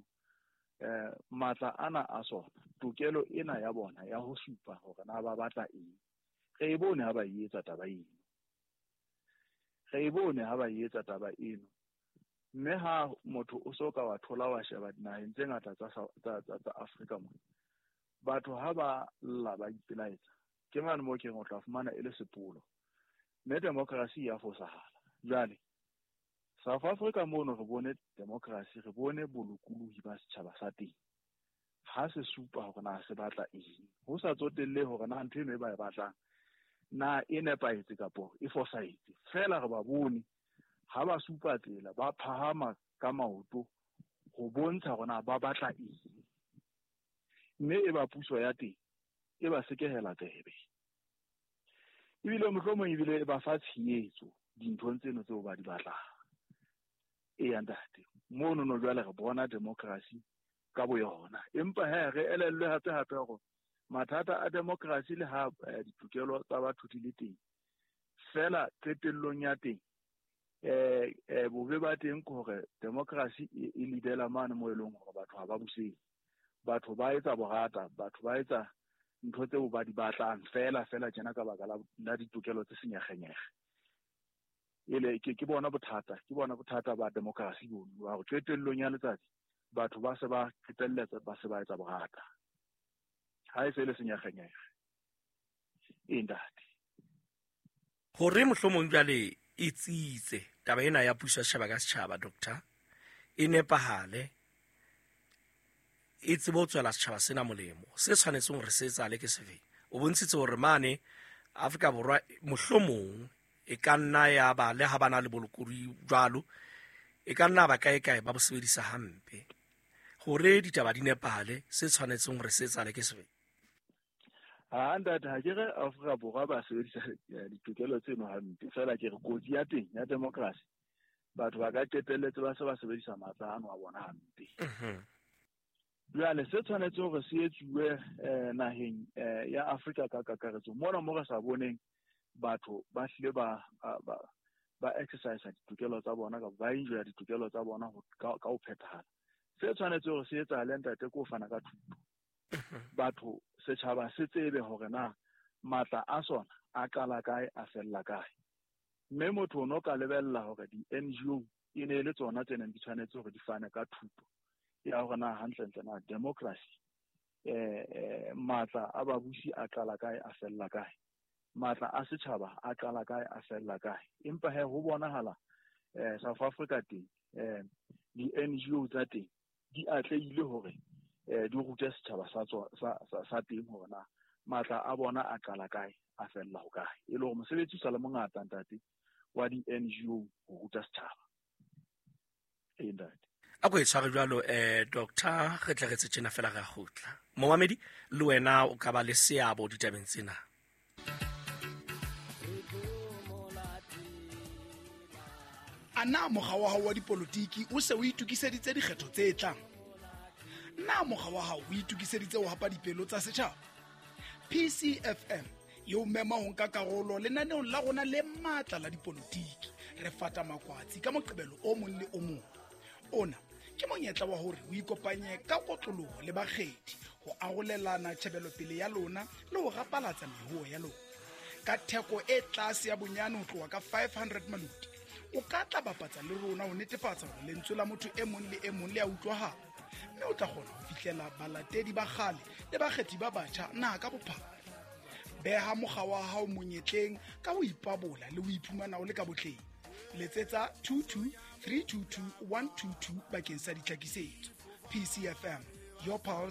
eh matla ana a sona, tokelo ena ya bona ya ho supa hore na ba batla eng, re e bone ha ba e etsa taba eno, re e bone ha ba e etsa taba eno. Mme ha motho o so ka wa thola wa sheba dinaheng tse ngata tsa tsa tsa Afrika mona, batho ha ba lla ba ipelaetsa, ke mane mo ke o tla fumana e le sepolo. Mme democracy ya fosahala. Jwale South Africa mono re bone democracy, re bone bolokolohi ba setjhaba sa teng. Ha se supa hore na se batla eng, ho sa tsotelle hore na ntho eno e ba e batlang na e nepahetse kapo e fosahetse. Feela re ba bone ha ba supa tsela, ba phahama ka maoto ho bontsha hore na ba batla eng. Mme e ba puso ya teng e ba sekehela tsebe. Ebile mohlomong ebile e ba fa tshehetso dinthong tseno tseo ba di batlang. Eya ntate, mono no jwale re bona democracy ka boyona. Empa he re elellwe hape hape hore mathata a democracy le ha ditokelo tsa batho di le teng, fela qetellong ya teng eh eh bobe ba teng ke hore democracy e lidela mane mo eleng hore batho ha ba buseng. Batho ba etsa borata, batho ba etsa ntho tseo ba di batlang fela fela tjena ka baka la ditokelo tse senyekgenyekge. Ele ke ke bona bothata, ke bona bothata ba democracy bono, ba hore qetellong ya letsatsi batho ba se ba qetelletse ba se ba etsa borata. Ha e se le senyekgenyekge. E ntate. Hore mohlomong jwale e tsitse taba ena ya puso ya setjhaba ka setjhaba, doctor, e nepahale, e tsebe ho tswela setjhaba sena molemo. Se tshwanetseng hore se etsahale ke sefeng? O bontshitse hore mane Afrika Borwa mohlomong e ka nna ya ba le ha bana le bolokolohi jwalo, e ka nna ba kae kae ba bo sebedisa hampe. Hore ditaba di nepahale, se tshwanetseng hore se etsahale ke sefeng? Ha ntate, ha ke re Afrika Borwa ba sebedisa ditokelo tseno hampe, fela ke re kotsi ya teng ya democracy, batho ba ka qetelletse ba se ba sebedisa matla ano a bona hampe. Jwale se tshwanetse hore se etsuwe naheng ya Afrika ka kakaretso, mona mo re sa boneng batho ba hlile ba ba ba exercise ditokelo tsa bona kapa ba enjoya ditokelo tsa bona ka ho phethahala. Se tshwanetse hore se etsahale ntate ke ho fana ka thuto. Batho, setjhaba se tsebe hore na matla a sona a qala kae, a fella kae. Mme motho o no ka lebella hore di-N G O e ne le tsona tse neng di tshwanetse hore di fane ka thuto ya hore na hantlentle na democracy eh eh matla a babusi a qala kae, a fella kae, matla a setjhaba a qala kae, a fella kae. Empa he ho bonahala eh South Africa teng eh di-N G O tsa teng di atlehile hore eh di rute setjhaba sa sa sa teng hore na matla a bona a qala kae, a fella ho kae. E le hore mosebetsi o sa le mongata ntate wa di-N G O ho ruta setjhaba. E ntate. A ko e tshware jwalo eh doctor, re tle re tse tjena fela re a kgutla. Momamedi, le wena o ka ba le seabo ditabeng tsena. A na mokga wa hao wa dipolotiki o se o itokiseditse dikgetho tse tlang? Na mokga wa hao o itokiseditse ho hapa dipelo tsa setjhaba? P C F M e o mema ho nka karolo lenaneong la rona le matla la dipolotiki. Re fata makwatsi ka Moqebelo o mong le o mong. Ona ke monyetla wa hore o ikopanye ka kotloloho le bakgethi ho arolelana tjhebelopele ya lona le ho rapalatsa mehuo ya lona. Ka theko e tlase ya bonyane ho tloha ka five hundred maluti, o ka tla bapatsa le rona ho netefatsa hore lentswe la motho e mong le e mong le a utlwahala, mme o tla kgona ho fihlela balatedi ba kgale le bakgethi ba batjha naha ka bophara. Beha mokga wa hao monyetleng ka ho ipabola le ho iphumana o le ka botleng. Letsetsa two two three two two one two two bakeng sa ditlhakisetso. P C F M, your pulse.